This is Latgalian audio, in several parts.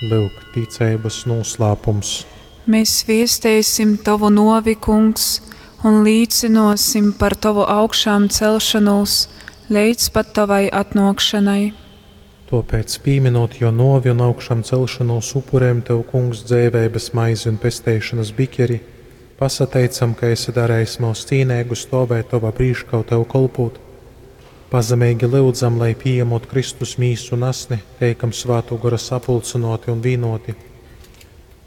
Lyuk, ticeibas nūslāpums. Mēs viesteisim Tovu nuovi, Kungs, un līcynuosim par Tovu augšām celšonūs leidz pat Tovai atnuokšonai. Tōpēc, pīmynūt Jō nōvi un augšamceļšonūs, upurējam Tev, Kungs, dzeiveibas maizi un pesteišonas bikeri, pasateicam, ka esi darējis myus cīneigu stōvēt Tovā prīškā un Tev kolpūt. Pazemeigi lyudzam, lai pījamūt Kristus mīsu un asni, teikam Svātō Gora sapulcynōti un vīnōti.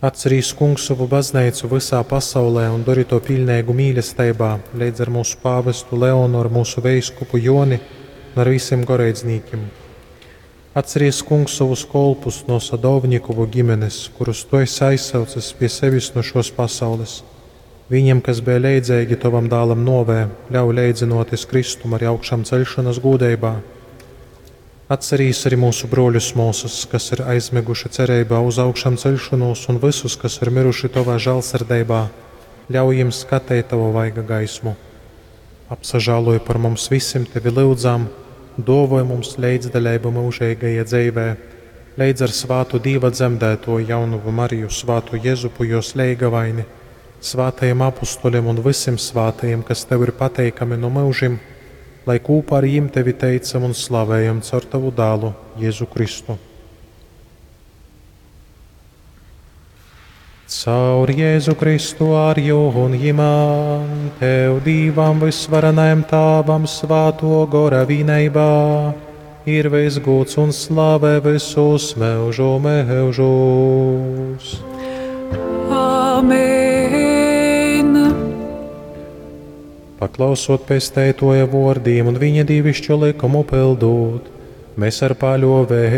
Atcerīs, Kungs, sovu bazneicu vysā pasaulē un dori to piļneigu mīlesteibā, leidz ar mūsu pāvestu Leonu, ar mūsu veiskupu Joni un ar visiem goreidznīkim. Atceries, Kungs, savus kolpus no Sadovnikovu ģimenes, kurus Tu esi aizsaucis pie sevis no šos pasaules. Viņiem, kas bija leidzeigi Tovam dālam novē, ļauj leidzinoties Kristum arī augšām ceļšanas gūdeibā. Atcerīs arī mūsu broļus mūsas, kas ir aizmiguši cereibā uz augšām ceļšanos, un visus, kas ir miruši Tovā žēlsirdībā, ļauj jiem skatīt Tavu vaiga gaismu. Apsažāloj par mums visiem Tevi lyudzām, dovoj mums leidzdaļību mūžīgajā dzīvē, leidz ar svātu Dīva dzemdēto jaunavu Mariju, svātu Jezupu jos leigavaini, svātajiem apustuļiem un visiem svātajiem, kas Tev ir pateikami no mūžim, lai kopā ar jiem Tevi teicam un slavējam caur Tavu dālu, Jēzu Kristu. Caur Jēzu Kristu ar jū un jimā, Tev Dīvam visvarenajam Tāvam svāto gora vīneibā, ir viss gods un slave visus mūžu mūžos. Amen! Paklausot pesteitoja vārdiem un viņa dievišķo likumu pildot, mēs ar paļovēju.